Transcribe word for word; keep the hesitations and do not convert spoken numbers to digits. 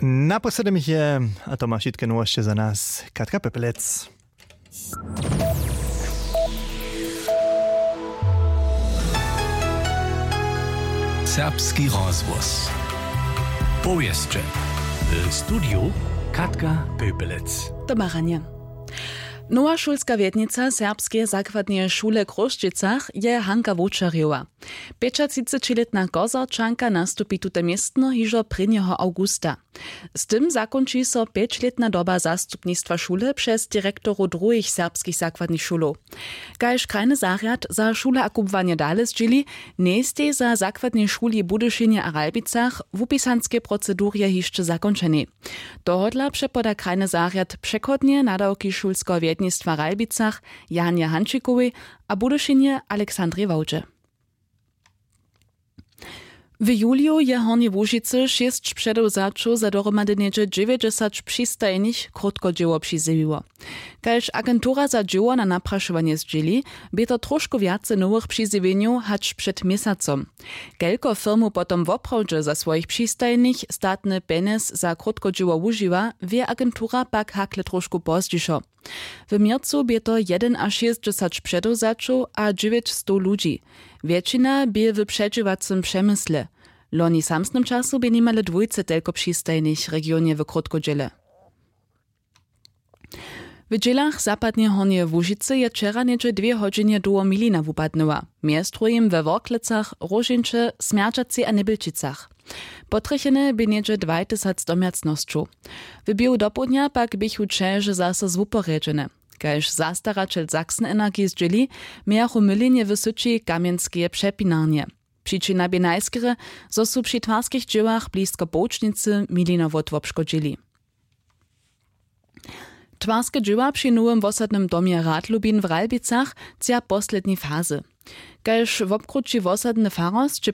Naposledom jich je, a to ma wšitke nowosće za nas Katka Pepelec. Serbski rozhłos. Powěsće. W studiju Katka Pepelec. Domaranje. Nowa šulska wjednica serbskeje zakładneje šule w Chrósćicach je Hanka Wowčerjowa. Pjećatřicećilětna Kozarčanka nastupi tute městno hižo prěnjeho awgusta. Z tym zakónči so pjećlětna doba zastupnistwa šule přez direktorow druhich serbskich zakładnych šulow. Kaž krajny zarjad za šule a kubłanje dale zdźěli, njejstej za zakładnej šuli w Budyšinje a Ralbicach w wupisanskej procedurje hišće zakónčenej. Tohodla přepoda krajny zarjad přechodnje nadawki šulskeho wjednistwa w Ralbicach Janje Hančikowej a Budyšinje Alexandrej Wałdźe. W juliju je w Hornjej Łužicy šěsć předewzaćow za dohromady něhdźe dźewjećdźesat přistajnych krótkodźěło přizjewiło. Kaž agentura za dźěło na naprašowanje zdźěli, bě to trošku wjace nowych přizjewjenjow hač před měsacom. Kelko firmow potom woprawdźe za swojich přistajnych statny pjenjez za krótkodźěło wužiwa, wě agentura pak hakle trošku pozdźišo. W měrcu bě to jedynašěsćdźesat předewzaćow a dźewjećstow ludźi. Wjetšina bě w předźěłacym přemysle. Loni w samsnym času bě nimale dwójce telko přistajnych w regionje w krótkodźěle. W dźělach zapadneje Hornjeje Łužicy je wčera něhdźe dwě hodźinje dołho milina wupadnyła, mjez druhim we Worklecach, Róžeńće, Smjerdźacej a Njebjelčicach. Potrjechene bě něhdźe dwajtysac domjacnosćow. W běhu dopołdnja pak běchu ćeže zaso zwuporjedźene. Kaž zastaraćel Sachsen Energy zdźěli, mějachu mylinje w syći kamjenskeje přepinarnje. Přičina bě najskerje, zo su při twarskich dźěłach blisko połčnicy milinowot wobškodźili. Twarske dźěła při nowym wosadnym domje Radlubin w Ralbicach tča posledni fazy. Kaž wobkrući wosadny farosć,